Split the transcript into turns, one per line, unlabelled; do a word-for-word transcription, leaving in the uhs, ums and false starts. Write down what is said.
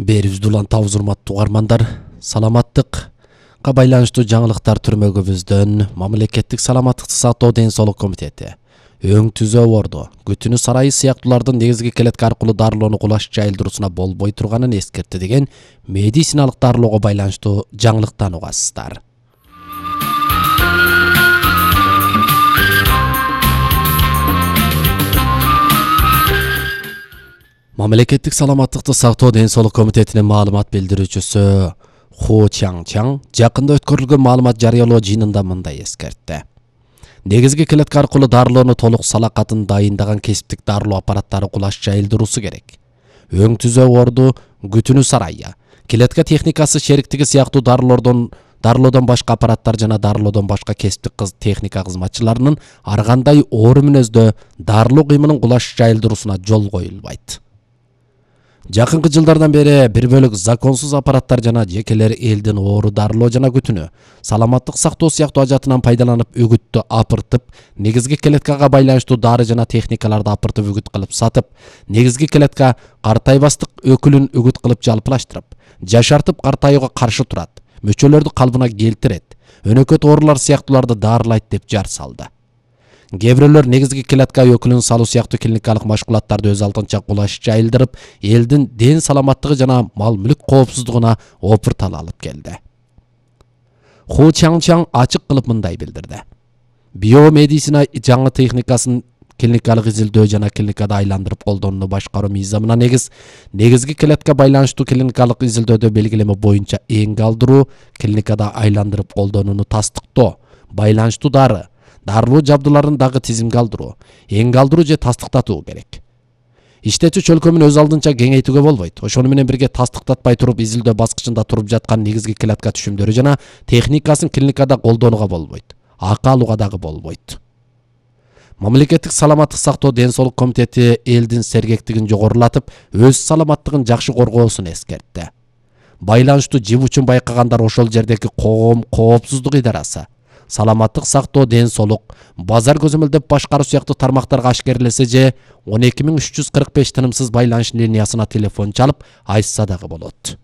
Берибизди улантабыз, урматтуу угармандар. Саламаттыкка байланыштуу жаңылыктар түрмөгүбүздөн Мамлекеттик саламаттыкты сактоо ден соолук комитети өң түзөө орду, күтүнү сарайы сыяктуулардын негизги келетке аркылуу дарылоону кулаш жайылдыруусуна болбой турганын эскертти деген медициналык дарылоого байланыштуу жаңылыктан угасыздар. Мамлекеттик саламаттыкты сактоо ден соолук комитетинин маалымат билдирүүчүсү Ху Чаңчаң жакында өткөрүлгөн маалымат жарыялоо жыйынында мындай эскертти. Негизги келетке аркылуу дарылоону толук салакатын дайындаган кесиптик дарылоо аппараттары кулаш жайылдыруусу керек. Өң түзөө орду, күтүнү сарайы, келетке техникасы шериктиги сыяктуу дарылоодон дарылоодон башка аппараттар жана дарылоодон башка кесиптик кыз техника кызматчыларынын ар кандай оору мүнөздө дарылоо кыймылын кулаш жайылдыруусуна жол коюлбайт. Жакынкы жылдардан бери бир бөлүк законсуз аппараттар жана жекелер элдин оору дарылоо жана күтүнү саламаттык сактоо сыяктуу ажатынан пайдаланып үгүттү апыртып, негизги келеткага байланыштуу дары жана техникаларды апыртып үгүт кылып сатып, негизги келетка картайбастык өкүлүн үгүт кылып жалпылаштырып, жашартып картаюуга каршы турат, мүчөлөрдү калыбына келтирет, өнөкөт оорулар сыяктууларды дарылайт деп жар салды. Кээ бирөөлөр негизги келетка өкүлүн салуу сыяктуу клиникалык машгулаттарды өз алдынча кулаш жайылдырып, элдин ден саламаттыгы жана мал мүлк коопсуздугуна опуртал алып келди. Ху Чаңчаң ачык кылып мындай билдирди. Биомедицина жаңы техникасын клиникалык изилдөө жана клиникада айландырып колдонууну башкаруу мыйзамына негиз, негизги келетке байланыштуу клиникалык изилдөөдө белгилеме боюнча эң калдыруу, клиникада айландырып колдонууну тастыктоо, байланыштуу дары, дарылоо жабдууларын дагы тизимге алдыруу, эң калдыруу же тастыктатуу керек. Иштетүү чөлкөмүн өз алдынча кеңейтүүгө болбойт. Ошону менен бирге тастыктатпай туруп изилдөө баскычында туруп жаткан негизги келетка түшүмдөрү жана техникасын клиникада колдонууга болбойт. Акы алууга дагы болбойт. Мамлекеттик саламаттык сактоо ден соолук комитети элдин сергектигин жогорулатып, өз саламаттыгын жакшы коргоосун эскертти. Байланыштуу жибучун байкагандар ошол жердеги коом коопсуздук идарасы, саламаттык сактоо ден соолук, базар көзөмөлдөп башкаруу сыяктуу тармактарга ашкерлесе же он эки миң үч жүз кырк беш тынымсыз байланыш линиясына телефон чалып айтса дагы болот.